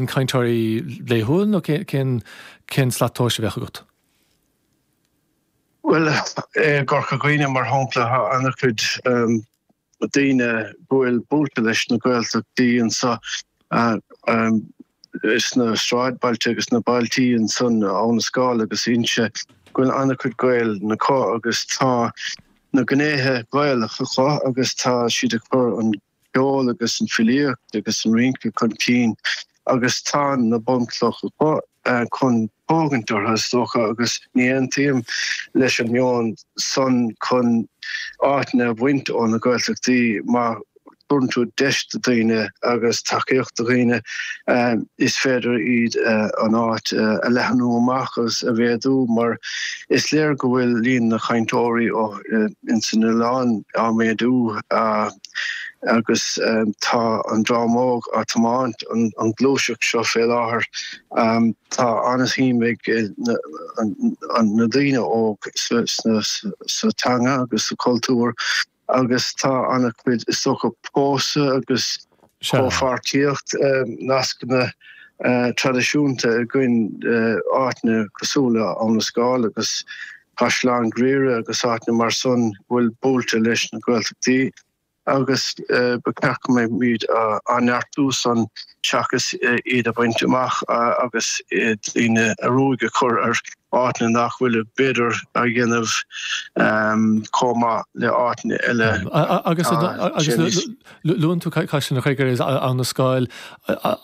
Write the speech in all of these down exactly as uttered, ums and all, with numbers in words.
líon cainteoirí laethúil nó cén cén slat tomhais a bheadh agat? Well i gCorca Dhuibhne mar shampla tá an-chuid um, daoine go bhfuil buailte leis na Gaeltachtaí anseo um, sna sráidbhailte agus na bailtí ansan Abha na Scáil agus Inse go bhfuil an-chuid Gael acu agus tá na gnéithe Gaelacha acu agus tá siad ag cur an ceol agus an filíocht agus an rince chun cinn agus tá na bunchlocha acu chun tógaint orthu is dócha agus ní aontaím leis an meon san chun áiteanna a bhaint ó na Gaeltachtaí má thugann tú deis do dhaoine agus tacaíocht do dhaoine is féidir iad an áit a leathnú amach agus a mhéadú mar is léir go bhfuil líon na cainteoirí ins an oileán á méadú agus tá an dream óg á tiomáint an ghluaiseacht seo fé láthair. Tá an-shuim ag na daoine óg sa teanga agus sa chultúr agus tá an-chuid is dócha pósadh agus comhpháirtíocht nascanna traidisiúnta againn áiteanna cosúil le Abha na Scáil agus Caisleán Ghriaire agus áiteanna mar san go bhfuil buailte leis na Gaeltachtaí. agus ba cheart go mbeimid á neartú san seachas iad a bhaint amach agus daoine a ruaig a chur ar áiteanna nach bhfuil b'fhéidir á dhéanamh chomh maith le áiteanna eile. Agus agus luann tú Caisleán an Chreagair is Abha na Scáil,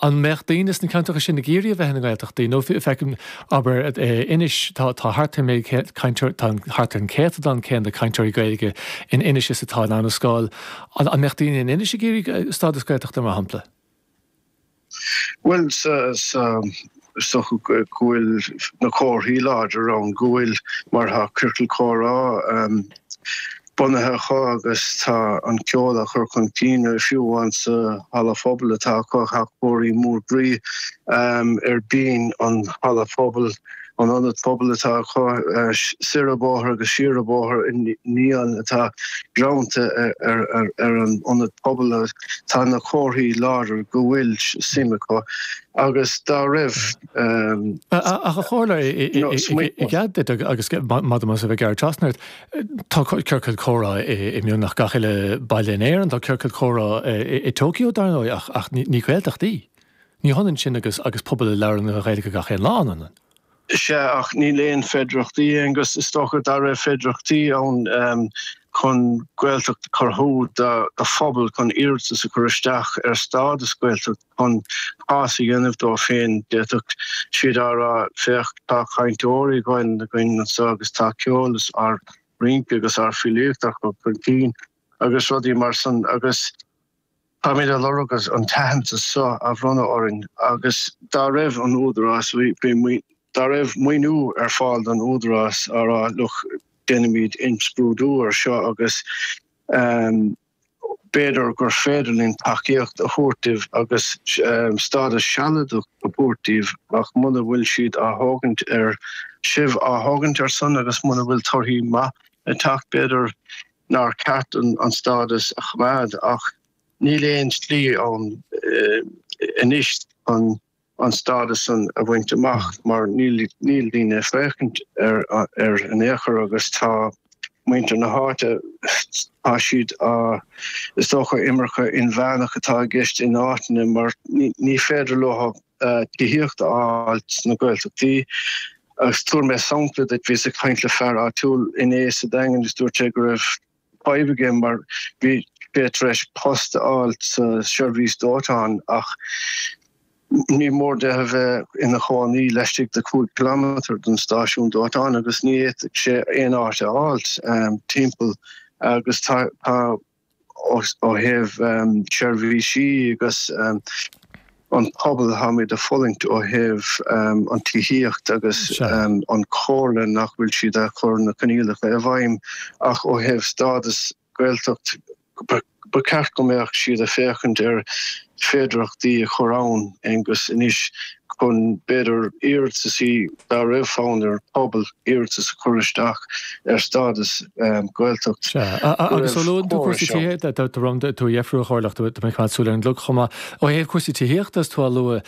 an mbeadh daoine sna ceantracha sin ag iarraidh a bheith ina nGaeltachtaí nó feicim abair Inis tá thart ar cainteoir tá thart ar an céatadán céanna cainteoirí Gaeilge in Inis is atá in Abha na Scáil. An mbeadh daoine in Inis ag iarraidh stádas Gaeltachta mar shampla? Well sa sa is dócha go bhfuil na comharthaí láidir ann go bhfuil mar tá ciorcal comhrá um, bunaithe acu agus tá an ceol á chur chun cinn fiú amháin sa halla phobail atá acu tá comharthaí mór groí um, ar binn an halla phobail an ionad pobail atá acu soir an bóthar agus siar an bóthar neon atá greanta ar ar an ionad pobail tá na comharthaí láidir go bhfuil suim acu agus dá raibh Ach a Chomhairleoir i gcead agus madam a bheith gearr trasna tá ciorcal comhrá i mbeagnach gach uile baile in Éirinn, tá ciorcal comhrá i Tokyo dar ndóigh ach ach ní Gaeltacht í. Ní hionann sin agus agus pobal a labhrann an Ghaeilge gach aon lá an. Sea ach níl aon féidearthachtaí agus is dócha dá raibh féidearthachtaí ann um, chun Gaeltacht a chruthú do phobal chun iarratas a chur isteach ar stádas Gaeltacht chun cás a dhéanamh dó féin d'fhéadfadh siad a rá féach tá cainteoirí againn againn anseo agus tá ceol is ár rince agus ár filíocht á chur chun cinn agus rudaí mar san agus Táimid ag lorg an t-aitheantas seo a bhronnadh orainn agus dá raibh an údarás dá raibh maoiniú ar fáil don údarás a rá look déanaimid imscrúdú ar seo agus b'fhéidir gur féidir linn tacaíocht a thabhairt daoibh agus stádas sealadach a thabhairt daoibh ach muna bhfuil siad á thógaint ar sibh á thógaint ar son agus muna bhfuil torthaí maith ag teacht b'fhéidir nár cheart an stádas a choimeád ach níl aon slí ann anois chun an stádas san a bhaint amach mar níl níl daoine ag féachaint ar ar in aon chor agus tá muintir na háite tá siad á is dócha imirce inmheánach atá i gceist in áiteanna mar ní féidir leo tithíocht a fháil sna Gaeltachtaí. Agus tabharfaidh mé sampla duit, bhíos ag caint le fear áitiúil inné sa Daingean agus dúirt sé go raibh fadhb aige mar bhí sé tar éis post a fháil sa seirbhís dóiteáin ach ní mór de a bheith ina chónaí laistigh de cúig kilometre den stáisiún dóiteáin agus ní fhéadfadh sé aon áit a fháil timpeall agus tá ó thaobh seirbhísí agus an pobal táimid ag fulaingt ó thaobh an tithíocht agus an chomhairle nach bhfuil siad ag cur na coinníollacha i bhfeidhm ach ó thaobh stádas Gaeltacht ba cheart go mbeadh siad ag féachaint ar féidearthachtaí a chur ann Aengus anois chun b'fhéidir iarrataisí dá raibh fonn ar phobal iarratas a chur isteach ar stádas Gaeltacht. Sea, agus ó luann tú cúrsaí tithíochta, tá tú a dheifriú a Chomhairleach, tá mé ag coimeád súil ar an gclog chomh maith. Ó thaobh cúrsaí tithíochta is tú á lua,